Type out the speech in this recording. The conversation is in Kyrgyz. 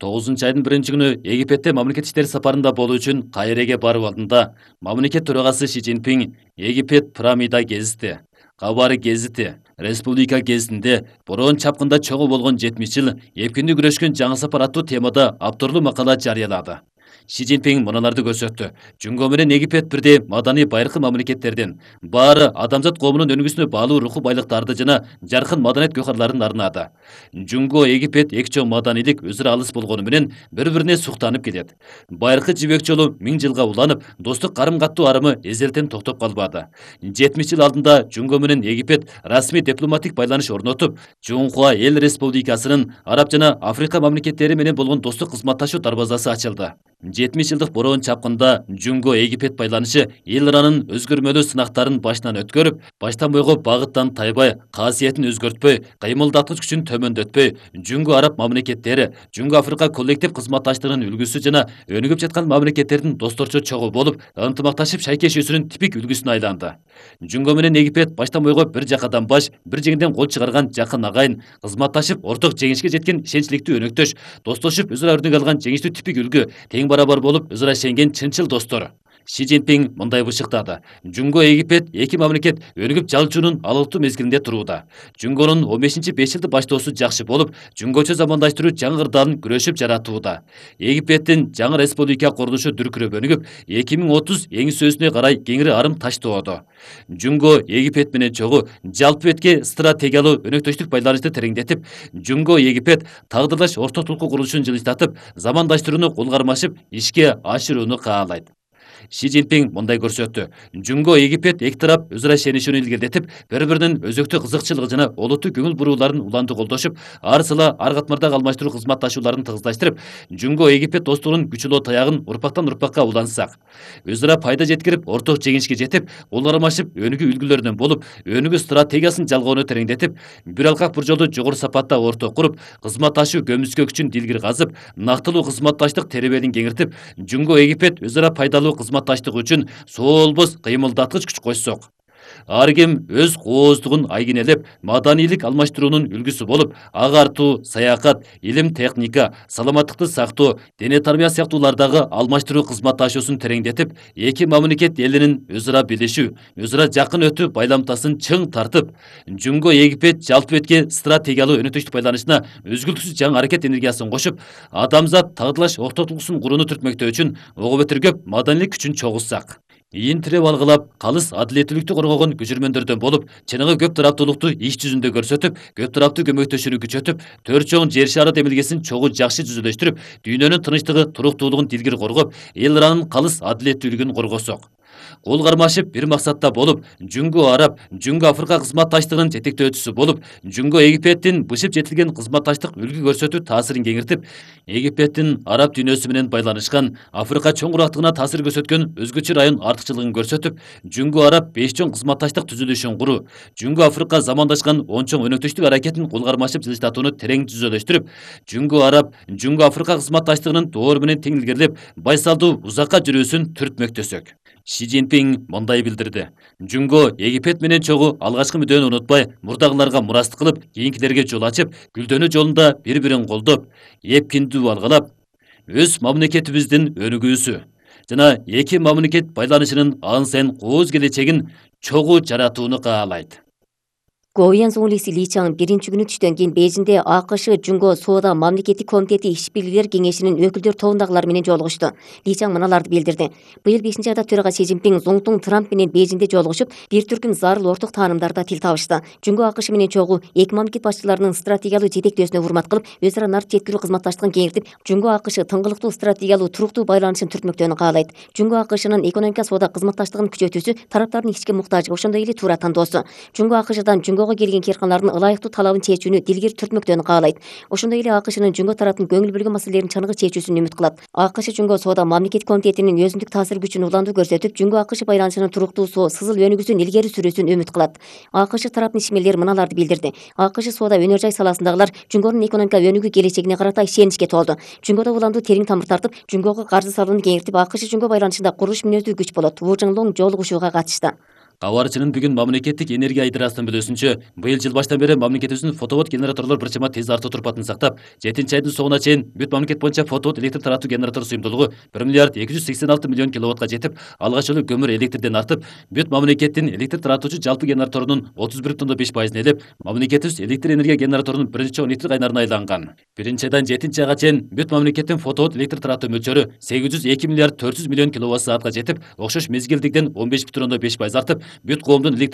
9 айдын 1-күнү Египетте мамлекет иштери сапарында болуу үчүн Кайреге барып алдында мамлекет төрагасы Си Цзиньпин Египет пирамида гезити, Кабар гезити, Республика гезитинде бороон чапкында чогуу болгон 70 жыл эпкинди күрөшкөн жаңы сапар аттуу темада авторлуу макала жарыялады. Си Цзиньпин мыналарды көрсөттү. Жунго менен Египет бирдей маданий байыркы мамлекеттердин, баары адамзат коомунун өнүгүүсүнө баалуу руху байлыктарды жана жаркын маданият гөкарларын арнады. Жунго Египет эки чоң маданийлик өзү эле алыс болгону менен бири-бирине суктанып келет. Байыркы жибек жолу 1000 жылга уланып, достук карым-каттуу арымы эзелтен токтоп калбады. 70 жыл алдында Жунго менен Египет расмий дипломатик байланыш орнотуп, Жунхуа эл республикасынын араб жана Африка мамлекеттери менен болгон достук кызматташуу дарбазасы ачылды. 70 жылдык бороон чапкында Жунго Египет байланышы эл ыранын өзгөрмөлүү сынактарын башынан өткөрүп, баштан бойго багыттан тайбай, касиетин өзгөртпөй, кыймылдаткыч күчүн төмөндөтпөй, Жунго араб мамлекеттери, Жунго Африка коллектив кызматташтыгынын үлгүсү жана өнүгүп жаткан мамлекеттердин досторчу чогуу болуп, ынтымакташып шайкешүүсүнүн типик үлгүсүнө айланды. Жунго менен Египет баштан бойго бир жакадан баш, бир жеңден кол чыгарган жакын агайын, кызматташып орток жеңишке жеткен ишенчликтүү өнөктөш, достошуп өзара өрнөк алган жеңиштүү типик үлгү, тең барабар болуп өзара ишенген чынчыл достор. Си Цзиньпин мындай бышыктады. Жунго Египет эки мамлекет өнүгүп жалчуунун алыктуу мезгилинде турууда. Жунгонун 15-5 жылды баштоосу жакшы болуп, жунгочо замандаштыруу жаңы ырдаалын күрөшүп жаратууда. Египеттин жаңы республика курулушу дүркүрөп өнүгүп, 2030 эңсөөсүнө карай кеңири арым таштоодо. Жунго Египет менен чогуу жалпы бетке стратегиялуу өнөктөштүк байланышты тереңдетип, Жунго Египет тагдырлаш ортотулуку курулушун жылыштатып, замандаштырууну кол кармашып ишке ашырууну каалайт. Си Цзиньпин мындай көрсөттү. Жунго Египет эки тарап өзара ишенишүүнү илгертип, бири-биринин өзөктүү кызыкчылыгы жана олуттуу көңүл бурууларын улантуу колдошуп, ар сыла ар катмардагы алмаштыруу кызматташууларын тыгыздаштырып, Жунго Египет достугунун күчөлүү таягын урпактан урпакка улансак, өзара пайда жеткирип, орток жеңишке жетип, кол кармашып, өнүгүү үлгүлөрүнөн болуп, өнүгүү стратегиясын жалгоону тереңдетип, бир алкак бир жолду жогору сапатта орток куруп, кызматташуу көмүскө күчүн дилгир казып, нактылуу кызматташтык теребелин кеңиртип, Жунго Египет өзара пайдалуу кызматташтык үчүн соолбос кыймылдаткыч күч кошсок. Ар ким өз кооздугун айгинелеп, маданийлик алмаштыруунун үлгүсү болуп, агартуу, саякат, илим техника, саламаттыкты сактоо, дене тарбия сыяктуулардагы алмаштыруу кызматташуусун тереңдетип, эки мамлекет элинин өзара билишүү, өзара жакын өтүү байламтасын чың тартып, Жунго Египет жалпы бетке стратегиялуу өнөктөштүк байланышына өзгүлтүксүз жаңы аракет энергиясын кошуп, адамзат тагдырлаш ортотулуксун курууну түртмөктөө үчүн ого бетер көп маданийлик күчүн чогултсак. Ийин тиреп алгылап, калыс адилеттүүлүктү коргогон күчүрмөндөрдөн болуп, чыныгы көп тараптуулукту иш жүзүндө көрсөтүп, көп тараптуу көмөктөшүүнү күчөтүп, төрт чоң жер шары демилгесин чогуу жакшы түзүлөштүрүп, дүйнөнүн тынычтыгы, туруктуулугун дилгир коргоп, эл ыранын калыс адилеттүүлүгүн коргосок. Кол кармашып бир максатта болуп, Жунго араб, Жунго Африка кызматташтыгынын жетектөөчүсү болуп, Жунго Египеттин бышып жетилген кызматташтык үлгү көрсөтүү таасирин кеңиртип, Египеттин араб дүйнөсү менен байланышкан, Африка чоң курактыгына таасир көрсөткөн өзгөчө район артыкчылыгын көрсөтүп, Жунго араб 5 чоң кызматташтык түзүлүшүн куруу, Жунго Африка замандашкан 10 чоң өнөктөштүк аракетин кол кармашып жылыштатууну терең түзөлөштүрүп, Жунго араб, Жунго Африка кызматташтыгынын доор менен тең илгерилеп, байсалдуу узакка жүрүүсүн түртмөктөсөк. Си Цзиньпин мындай билдирди. Жунго Египет менен чогуу алгачкы мүдөнү унутпай, мурдагыларга мураст кылып, кийинкилерге жол ачып, гүлдөнүү жолунда бири-бирин колдоп, эпкиндүү алгалап, өз мамлекетибиздин өнүгүүсү жана эки мамлекет байланышынын ан сайын кооз келечегин чогуу жаратууну каалайт. Говьян Зоңлиси Ли Чаң 1-күнү түштөн кийин Бейжиңде АКШ Жунго Соода мамлекеттик комитети иш-бирlikler кеңешинин өкүлдөр тобундагылар менен жолугушту. Ли Чаң мыналарды билдирди. Быйыл 5-айда төрага Си Цзиньпин Зоңтуң Трамп менен Бейжиңде жолугушуп, бир түркүм зарыл орток таанымдарда тил табышты. Жунго АКШ менен чогуу эки мамлекет башчыларынын стратегиялуу жетектөөсүнө урмат кылып, өзара нарт жеткирүү кызматташтыгын кеңиртип, Жунго АКШ тыңгылыктуу стратегиялуу туруктуу байланышын түртмөктөөнү каалайт. Жунго АКШнын экономика соода кызматташтыгын күчөтүүсү тараптардын ички муктажы, ошондой эле туура тандоосу. Жунго АКШдан Жунгого келген кээрканалардын ылайыктуу талабын чечүүнү дилгир түртмөктөөнү каалайт. Ошондой эле АКШнын Жунго тараптын көңүл бөлгөн маселелерин чыныгы чечүүсүн үмүт кылат. АКШ Жунго соода мамлекет комитетинин өзүндүк таасир күчүн улантуу көрсөтүп, Жунго АКШ байланышынын туруктуусу, сызыл өнүгүүсүн илгери сүрүүсүн үмүт кылат. АКШ тараптын ишмерлери мыналарды билдирди. АКШ соода өнөр жай саласындагылар Жунгонун экономика өнүгүү келечегине карата ишеничке толду. Жунгода уламдуу терең тамыр тартып, Жунгого каржы салууну кеңиртип, АКШ Жунго байланышында курулуш мүнөздүү күч болот. Ву Жыңлоң жолугушууга катышты. Кабарчынын бүгүн мамлекеттик энергия айдырасынын билүүсүнчө, быйыл жыл баштан бери мамлекетибиздин фотовод генераторлор бир чама тез артуу турпатын сактап, 7 айдын соңуна чейин бүт мамлекет боюнча фотовод электр таратуу генератор сыйымдуулугу 1 миллиард 286 миллион киловаттка жетип, алгач жолу көмүр электрден артып, бүт мамлекеттин электр таратуучу жалпы генераторунун 31,5% ээлеп, мамлекетибиз электр энергия генераторунун 1-12 айнарына айланган. 1-айдан 7-айга чейин бүт мамлекеттин фотовод электр таратуу мөлчөрү 802 миллиард 400 миллион киловатт саатка жетип, окшош мезгилдикден 15,5% артып, бүт коомдун электр